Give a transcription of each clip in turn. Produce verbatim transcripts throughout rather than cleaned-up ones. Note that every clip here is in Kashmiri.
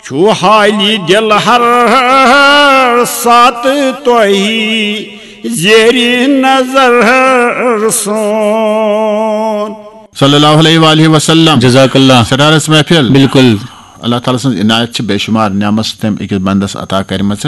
چھُ حالی دِل ہر ساتہٕ تۄہہِ زیرِ نظر سون۔ صلی اللہ علیہ وآلہ وسلم۔ جزاک اللہ۔ سٹارس محفل۔ بالکل۔ اللہ تعالیٰ سٕنٛز عنایت چھِ بے شمار نعمت تٔمۍ أکِس بندس عطا کٔرمٕژ،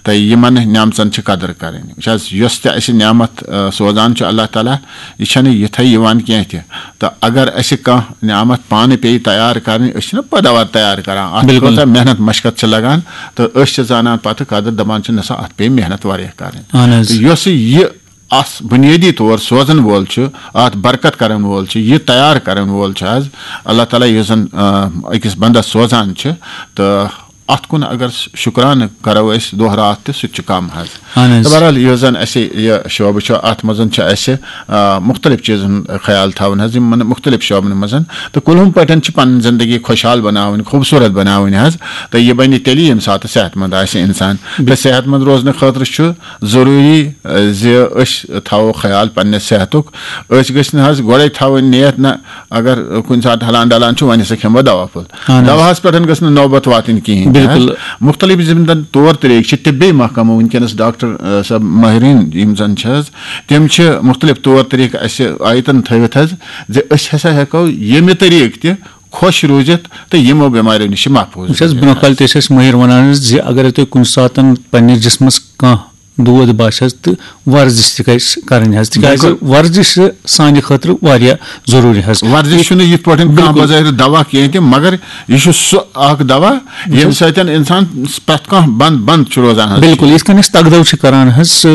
تہٕ یِمن نعمژن چھِ قدر کرٕنۍ۔ وٕچھ حظ، یۄس تہِ اَسہِ نعمت، آ، سوزان چھُ اللہ تعالیٰ، یہِ چھَنہٕ یِتھَے یِوان کینٛہہ تہِ۔ تہٕ اگر اَسہِ کانٛہہ نعمت پانہٕ پیٚیہِ تیار کرٕنۍ، أسۍ چھِنہٕ پیداوار تیار کران، اَتھ بالکل۔ کۭژاہ محنت مشقت چھِ لگان، تہٕ أسۍ چھِ زانان پتہٕ قدر، دپان چھِ، نہ سا، اَتھ پیٚیہِ محنت واریاہ کرٕنۍ۔ اہن حظ۔ تہٕ یۄس یہِ اَس بُنیٲدی طور سوزَن وول چھُ، اَتھ برکت کَرَن وول چھُ، یہِ تیار کَرَن وول چھُ حظ اللہ تعالیٰ، یُس زَن، آ، أکِس بندَس سوزان چھُ، تہٕ اَتھ کُن اگر شُکرانہٕ کَرو أسۍ دۄہ راتھ تہِ، سُہ تہِ چھُ کَم حظ۔ اہن حظ۔ تہٕ بہرحال، یُس زَن اَسہِ یہِ شعبہٕ چھُ، اَتھ منٛز چھُ اَسہِ، آ، مُختلف چیٖزَن خیال تھاوُن حظ، یِمَن مُختلف شعبَن منٛز۔ تہٕ کُلہُم پٲٹھۍ چھِ پَنٕنۍ زِندگی خۄشحال بَناوٕنۍ، خوٗبصوٗرت بَناوٕنۍ حظ۔ تہٕ یہِ بَنہِ تیٚلی، ییٚمہِ ساتہٕ صحت مند آسہِ اِنسان۔ تہٕ صحت مند روزنہٕ خٲطرٕ چھُ ضروٗری، زِ أسۍ تھاوو خیال پننہِ صحتُک۔ أسۍ گٔژھۍ نہٕ حظ گۄڈَے تھاوٕنۍ نیت، نہ، اگر کُنہِ ساتہٕ ہلان ڈلان چھُ، وۄنۍ ہسا کھٮ۪مہٕ بہٕ دوا پھوٚل۔ اہن حظ۔ دواہَس پٮ۪ٹھ گٔژھ نہٕ نوبت واتٕنۍ کِہیٖنۍ تہِ حظ۔ بالکل۔ مُختٔلِف یِم زَن طور طریٖقہٕ چھِ، طبی محکمہٕ وٕنکیٚنَس ڈاکٹر، آ، صٲب ماہریٖن یِم زَن چھِ حظ، تِم چھِ مُختٔلِف طور طریٖقہٕ اَسہِ آیتَن تھٲوِتھ حظ، زِ أسۍ ہسا ہٮ۪کو ییٚمہِ طریٖقہٕ تہِ خۄش روٗزِتھ تہٕ یِمو بٮ۪ماریو نِش چھِ محفوٗظ وٕچھ حظ، روٗزِتھ برونٛہہ حظ۔ کالہِ تہِ ٲسۍ أسۍ مٲہِر وَنان حظ زِ اگر تۄہہِ کُنہِ ساتَن پنٛنِس جِسمَس کانٛہہ دود باسہِ حظ، تہٕ ورزش تہِ گژھِ کَرٕنۍ حظ، تِکیٛازِ بِلکُل۔ ورزش چھِ سانہِ خٲطرٕ واریاہ ضروٗری حظ۔ ورزش چھُنہٕ یِتھ پٲٹھۍ کانٛہہ بِلکُل۔ بظٲہِر دوا کینٛہہ تہِ، مگر یہِ چھُ سُہ اکھ دوا، ییٚمہِ بِلکُل۔ سۭتۍ اِنسان پرٛٮ۪تھ کانٛہہ بنٛد، بنٛد چھُ روزان حظ۔ بِلکُل، یِتھ کٔنۍ أسۍ تَگدَو چھِ کَران حظ، سُہ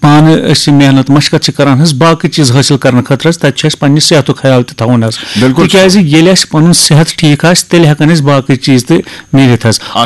پانہٕ أسۍ یہِ محنت مشقت چھِ کَران حظ، باقٕے چیٖز حٲصِل کَرنہٕ خٲطرٕ حظ، تَتہِ چھُ اَسہِ پنٛنہِ صحتُک خیال تہِ تھاوُن حظ۔ بِلکُل۔ تِکیٛازِ ییٚلہِ اَسہِ پَنُن صحت ٹھیٖک آسہِ، تیٚلہِ ہٮ۪کَن أسۍ باقٕے چیٖز تہِ میٖلِتھ حظ۔ آ،